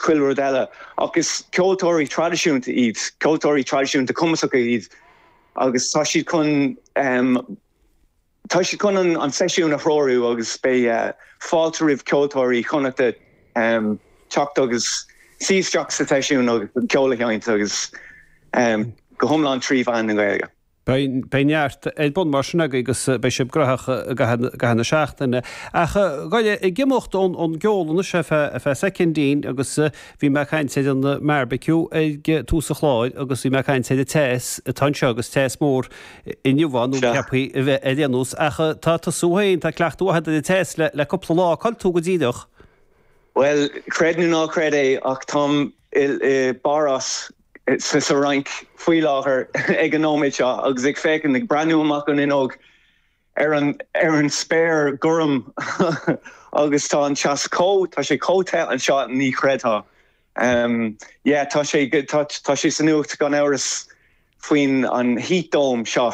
Chuile rud eile. Ach is ceoltóirí traidisiúnta iad, ceoltóirí traidisiúnta cumasacha iad agus tá siad chun, tá siad chun an seisiún a threorú agus beidh fáilte roimh ceoltóirí Chonnachta teacht agus suí isteach sa tseisiún agus an ceol a sheinnt agus go hiomlán trí mheán na Gaeilge. Beidh neart ar bun mar sin agaibh agus beidh sibh graitheach i gcaitheamh na seachtaine. Ach ag imeacht ón gceol anois ar feadh soicindín agus bhí mé ag caint ar an mbearbaiciú ag tús an chláir agus bhí mé ag caint ar an teas atá anseo agus teas mór inniu ann, nó ceaptha a bheith ar aon nós. Ach tá tusa féin, tá cleachtadh mhaith agat ar an teas le cúpla lá. Cá bhfuil tú go díreach? Bhuel, creid nó ná creid é ach táim i bPáras sa Fhrainc faoi láthair ag an nóiméad seo agus ag féachaint, ag breathnú amach an fhuinneog ar an ar an spéir gorm agus tá an teas chomh, tá sé chomh te anseo, ní chreidfeá. Yeah, tá sé, tá tá sé sa nuacht gan amhras faoin an heat dome seo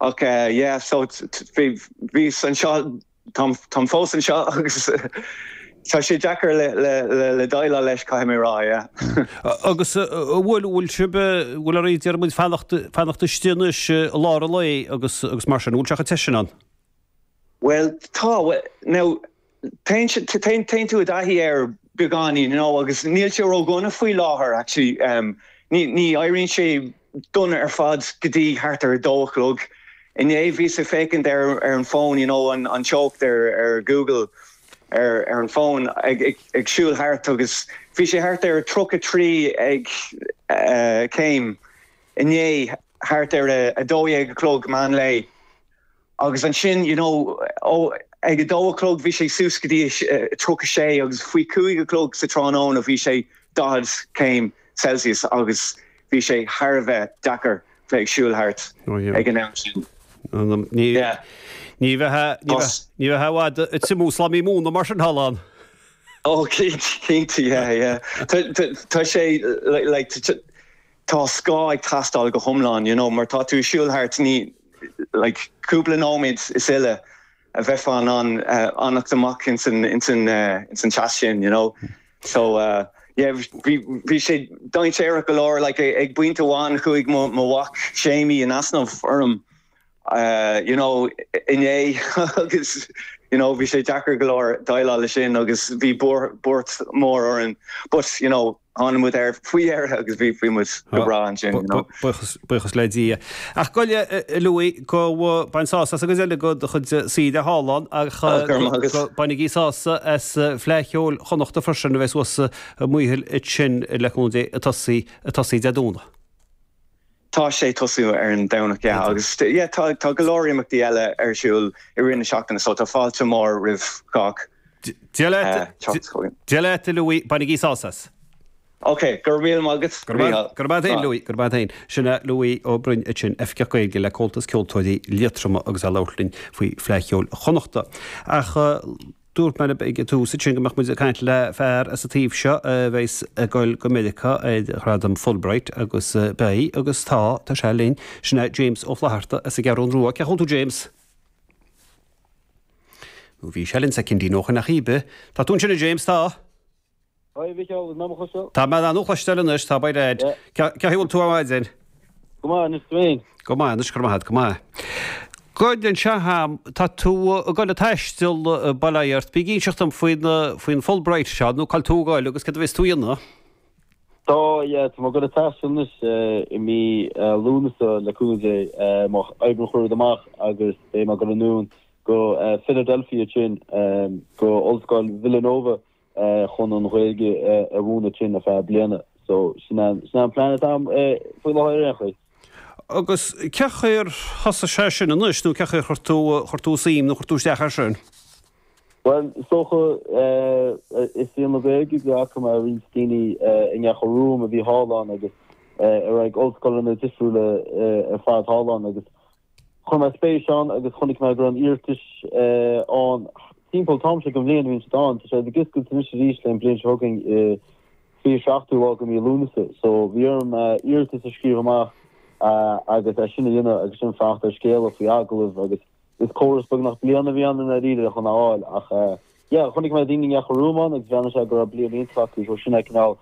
ach yeah, so bhí bhíos anseo Táim fós anseo agus tá sé deacair le déileáil leis, caithfidh mé a rá, yeah. Agus an bhfuil, bhfuil sibh, bhfuil oraibh, déarfaidh muid, fanacht, fanacht istigh anois i lár an lae agus, agus mar sin, an bhfuil sé chomh te sin ann? Bhuel, tá, now, téann, téann, téann tú i dtaithí air beagáinín, you know, agus níl sé ródhona faoi láthair, actually, ní, ní éiríonn sé dona ar fad go dtí thart ar a dó a chlog. Inné bhíos ag féachaint ar ar an bhfón, you know, an an teocht ar ar Google ar ar an bhfón ag ag ag siúl thart agus bhí sé thart ar 33 ag eh céim inné thart ar a 12 a chlog meán lae. Agus ansin, you know, ó, ag a dó a chlog bhí sé suas go dtí 36 agus faoi chúig a chlog sa tráthnóna bhí sé 40 céim Celsius agus bhí sé thar a bheith deacair bheith ag siúl thart ag an am sin. Ní ní bheifeá ní bheifeá i bhfad ag triomú slamaí móna mar sin thall ann. Ó cinnte, yeah, yeah. Tá sé like tá scáth ag teastáil go hiomlán, you know, mar tá tú ag siúl thart, ní, like, cúpla nóiméad is uile a bheifeá in ann fanacht amach ins an, ins an, ins an teas sin, you know. So, yeah, bhí, bhí sé dainséarach go leor, like, ag pointe amháin chuaigh mo, mo mhac Séimí in easnamh orm, you know, inné agus, you know, bhí sé deacair go leor déileáil leis sin agus bhí buairt mhór orainn, but, you know, Tháinig muid air faoi dheireadh agus bhí bhí muid go breá ansin, you know. Buíochas, buíochas le Dia. Ach gabh i leith, a Louis, go bain sásamh as an gcuid eile de do chuid saoire thall ann ach Go raibh maith agat. go bainigí sásamh as Fleadh Cheoil Chonnachta freisin a bheidh suas i Maothail ansin le cúnamh Dé ag tosaí, ag tosaí Dé Domhnaigh. Tá sé ag tosú ar an Domhnach, yeah, agus yeah, tá tá go leor imeachtaí eile ar siúl i rith na seachtaine so tá fáilte mhór roimh chách Dia leat, teacht chugainn. Dia leat, a Louis, bainigí sásamh as. Ok, go raibh míle maith agat, Go raibh maith, go raibh maith a't fhéin, Louis, go raibh maith a't fhéin. Sin é Louis Ó Broin ansin, Oifigeach Gaeilge le Comhaltas Ceoltóirí Liatroma agus é ag labhairt linn faoi Fleadh Cheoil Chonnachta. Ach Dúirt mé libh ag an tús ansin go mbeadh muid ag caint le fear as an taobh seo a bheas ag dul go Meiriceá ar Ghradam Fulbright agus beidh agus tá, tá sé linn, sin é James Ó Flatharta as an gCeathrún Rua. Cén chaoi a bhfuil tú James? Nó bhí sé linn soicindín ó shin ach cibé. Tá tú ansin a James, tá? Hi, a Mhichíl, an mé mo chloisteáil? Tá mé á chloisteáil anois, tá by dad. Yeah. Cén chaoi a bhfuil tú ar maidin? Go maith, anois tú féin? Go maith anois, go raibh maith agat, go maith. Gabh inis dom, tá tú ag dul ag taisteal, bail ó Dhia ort, bí ag inseacht dom faoin, faoin Fulbright seo, nó cá bhfuil tú ag dul agus céard a bheas tú a dhéanamh? Tá, yeah, tá mé ag dul ag taisteal anois i mí Lúnasa le cúnamh Dé, má oibríonn chuile rud amach agus beidh mé ag dul anonn go Philadelphia ansin, go Ollscoil Villanova chun an Ghaeilge a mhúineadh ansin ar feadh bliana. So sin é sin é an plean atá agam faoi láthair ar aon chaoi. Agus cén chaoi ar thosaigh sé sin anois nó cén chaoi ar chuir tú chuir tú suim nó chuir tú isteach air sin? Bhuel, is dócha i saol na Gaeilge go bhfaca mé roinnt daoine i nGearr romham a bhí thall ann agus a raibh ag ollscoileanna difriúla ar fad thall ann agus Chuir mé spéis ann agus chonaic mé go raibh an iarratais ann timpeall an t-am seo den bhliain a bhíonn siad ann. Tá siad ag oscailt anois arís le an bliain seo chugainn i 27ú lá de mhí Lúnasa. So bhí orm iarratas a scríobh amach agus é sin a dhéanamh agus sin fanacht ar scéala faoi agallamh agus is córas beagnach bliana a bhí ann i ndáiríre chun a fháil ach. yeah, chonaic mé daoine i nGearr Rua ann agus bheannaigh sé go raibh bliain iontach acu, so sin é cineál.